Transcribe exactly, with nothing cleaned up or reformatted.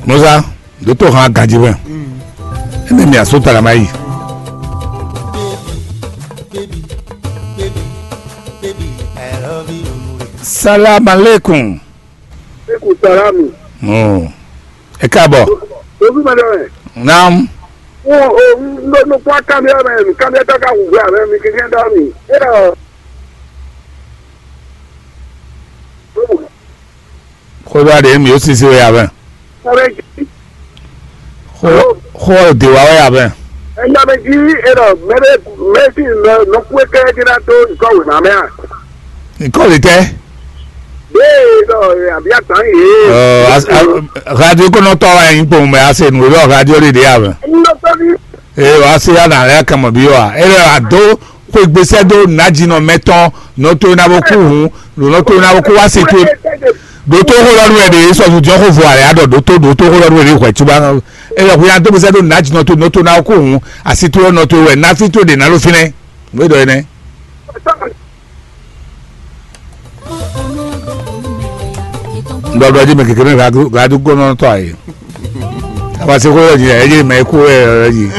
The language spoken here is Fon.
Musa, ɖo tó hàn ganji wɛ. Ene mi aso tala ma yi. Salam aleikum. Eku salamu. Oh. Ẹ káàbọ̀. Ojú ma dọ̀rọ̀. Naam. Wọ́n ò ń lọ kó kámẹ́rà mẹ́, kámẹ́rà tó ká wù wá mẹ́, mi kékeré dá mi. Ẹ lọ. Xó ɖɔ aɖe mi ó sisi wɛ ya vɛ. Xó xó de wa wɛ ya vɛ. Ẹ̀yin abẹ́jí ẹ̀rọ mẹ́rẹ́ mẹ́sì nọ kú ẹ̀kẹ́ ẹ̀jẹ̀ náà tó nǹkan wò náà mẹ́ à. Nǹkan lè tẹ́. Bẹ́ẹ̀ lọ àbí àtàn yìí. Radio kɔnɔtɔ wa yin kpɔn mɛ ase nu lɔ radio de de ya vɛ. Ẹ̀yin lọ sọ́bí. Ee wa se ya na lɛ kama bi wa. E lɛ ado xwe gbesɛ do najinɔ mɛtɔn nɔto na bo ku hun nɔto na bo ku wa se to. Doto xo lɔ nu ɛ de sɔ ju jɔ xo vo ale adɔ doto doto xo lɔ nu ɛ de hwɛ tuba. E lɛ hu ya do gbesɛ do najinɔ to nɔto na bo ku hun asi to nɔto wɛ nafi to de na lo finɛ. Mo dɔ enɛ. Ndɔdɔ ji mɛ kekere radio radio gɔnɔ tɔ ayi. Abasi xo yɔ ji ɛ ji mɛ ku ɛ yɔ ji.